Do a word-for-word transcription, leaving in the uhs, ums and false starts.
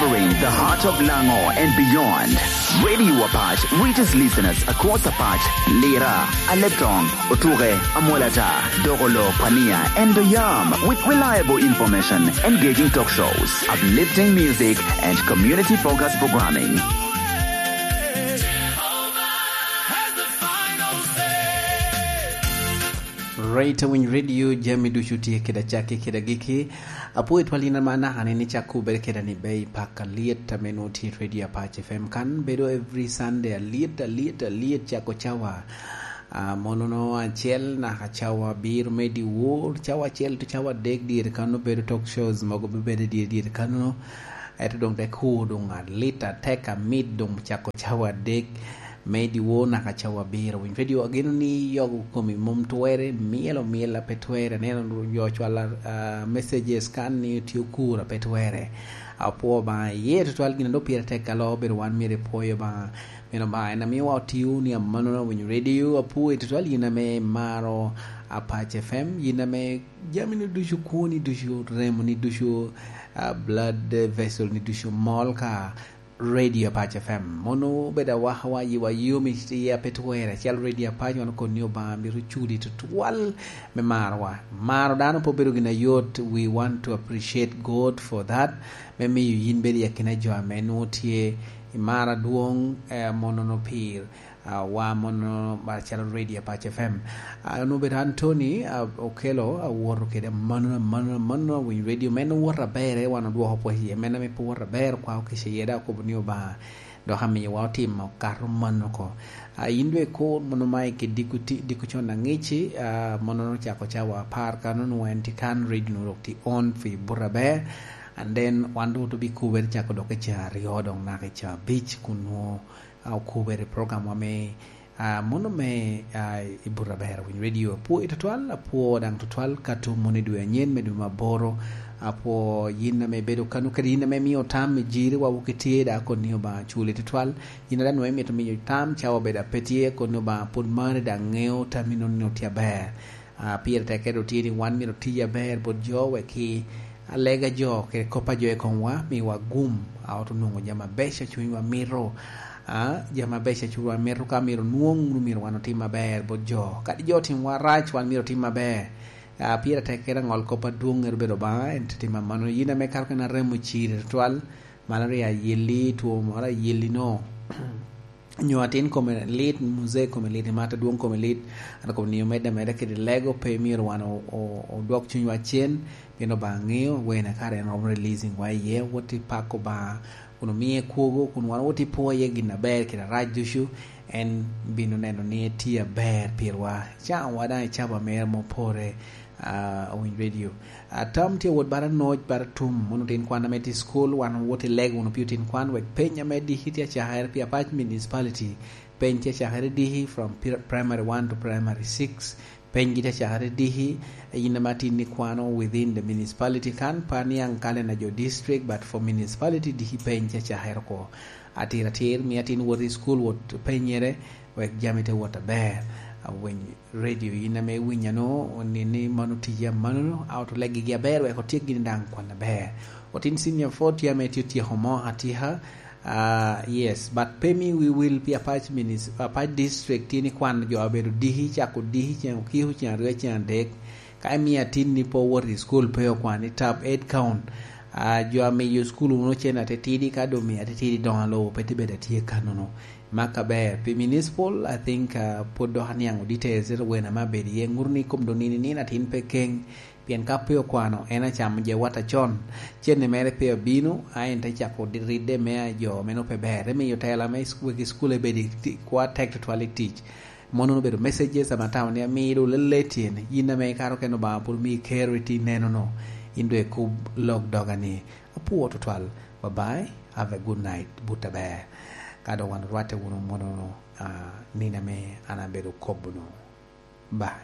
Covering the heart of Lango and beyond, Radio Apach reaches listeners across Apach, Lira, Aleptong, Otuke, Amwalata, Dogolo, Pania, and Bayam with reliable information, engaging talk shows, uplifting music, and community-focused programming. Rate Winy Radio, jami ducu tye kede acakki kede agikki. Apwoyo twal yin ama naka ni, ni cak kubere keda ni bei pak alyet ame nwoŋo tye i Radio Apac F M kan, bedo every Sunday alyet, alyet, alyet, cako cawa, ah, monono acel naka cawa abiro me dyewor, cawa acel to cawa adek dyere kanno bedo talk shows mogo bebedo dyere dyere kanno. Ento doŋ te kur doŋ alit atek amit doŋ cako cawa adek me dyewor naka cawa abiro. Winy Radio, ageno ni yogo komi mom twere, myelo myel a pe twere, aneno jo cwalo, ah, messages kan ni tye okur a pe twere. Apwoo Obaŋa iye tutwal, gin a dok pire tek alo, bedo wan myero ipwoyo Obaŋa. Meno Obaŋa en amiwa otio ni amannono. Winy Radio, apwoo i tutwal yin ame imaro Apac F M, yin ame jami ni ducu, kwoni ducu, remo ni ducu, ah, blood vessel ni ducu mol ka Radio Apac F M. Mono obedo awakawa, yiwa yom i iya pe twere. Acel Radio Apac, wan okoni Obaŋa myero oculi tutwal me marowa. Maro dano pe obedo gin ayot. We want to appreciate God for that. Me miyo yin bedo i akina jo ame nwoŋo tye i mar adwoŋ, eh, monono pir, ah, wa mono acalo Radio Apac F M. Ah, onwoŋo obedo Anthony, ah, Okello, awoto kede mano, mano, mano, Winy Radio. Men owoto aber, wan odwoko pwod iye. Men ame pe owoto aber, kwa okica iye, dok okobo ni Obaŋa dok amiyowa otimo kato mano oko. Ah, yin dwe ko mono Mike Diko ti-, Diko con aŋici, ah, mono ocako cawa apar kano, nwoŋo en tye kan, radio nwoŋo dok tye on fi buto aber. And then wan dok obikubere cako dok i caa aryo, dok naka i caa abic, kun nwoŋo, ah, okubere program wa me, ah, mono me, ah, i buto aber Winy Radio. Apwoo i tutwal, apwoo daŋ tutwal ka tum mono i dwe anyen me dwe me aboro. Apwoo yin ame ibedo kano kede yin ame imio tam i jiri wa wok itye, dok akoni Obaŋa culi tutwal. Yin a daŋ nwoŋo imito miyo tam cawa obedo a pe tye, koni Obaŋa pwod mari daŋ ŋeo tam inono ni otye aber. Ah, pire tek kede otye ni wan myero oti aber bot jo, wek ki alega jo kede kop a jo i komwa miwa gum, a ot onwoŋo jami abeco a cunywa mito. Ah, jami abeco a cunywa mito ka myero nwoŋ, myero wan otim aber bot jo. Kadi jo otimwa rac, wan myero otim aber. Ah, pire tek kede aŋol kop adwoŋ ŋero bedo Obaŋa, en te timo amannono. Yin ame kato kena remo ciri tutwal, malaria ayelli, two moro ayelli no, nyo atin kome lit, muzee kome lit, i mata dwoŋ kome lit, an kome nio medde ameda kede lego, pe myero wan o-, o-, odwok cunywa cen, pien Obaŋa ŋeo wene kare en romo releasing wa iye, wot i pako Obaŋa, kun omie kwogo, kun wan wot i pwoye gin aber kede arac ducu, en bino neno ni etye aber pirwa. Cawa daŋ icabo amera mopore, ah, Winy Radio. Ah, tam tye wot bara noc, bara tum, mono otin kwan ame tye i school, wan wot i lego wunu pi otin kwan, wek peny ame diki tye acakere pi Apac Municipality, peny tye acakere diki from pri-, primary one to primary six, peny gi tye acakere diki, yin ame atin ikwano within the municipality kan, pe aniaŋ kalenda jo district, but for municipality diki peny tye acakere oko. Atir atir, mi atin wot i school, wot penyere, wek jami te wot aber. Awiny Radio, yin ame iwinya no, ni, ni mano tija mano, a ot olegi gi aber, wek otyek gini daŋ kwan aber. Otin senior four tye ame tye otyeko mo atyeka, ah, yes, but pe mi wi wil pi Apac Minis-, Apac District tye ni kwan jo abedo diki, cako diki ceŋ okiko, ceŋ aryo, ceŋ adek. Ka imio atin ni pe owot i school, pe okwan i tab eight count, ah, jo amiyo school wunu cen atitidi, ka doŋ miyo atitidi doŋ alo, pe tye bedo atye kanono. Mak aber. Pi municipal, I think, uh, pwod dok aniaŋ details, ento wena me abedo iye, ŋuto ni kom doŋ nino nino atin pe keng, pien ka pe okwano, en acamo jawata con. Cene mere pe obino, a en te cako di-, ridde me a jo meno pe ber. Te miyo tela me is-, wegi school ebedi ti-, kwa tek tutwal i tic. Mono obedo messages ame atamo ni amido lele tyen, yin ame ikato kene Obaŋa pwod omii kero iti nenono, in doŋ ikub lok doga ni, "Apwoo tutwal, bye bye, have a good night, but aber." Ka doŋ wan orwatte wunu mono, ah, nino ame an abedo kobo-nu. Bye.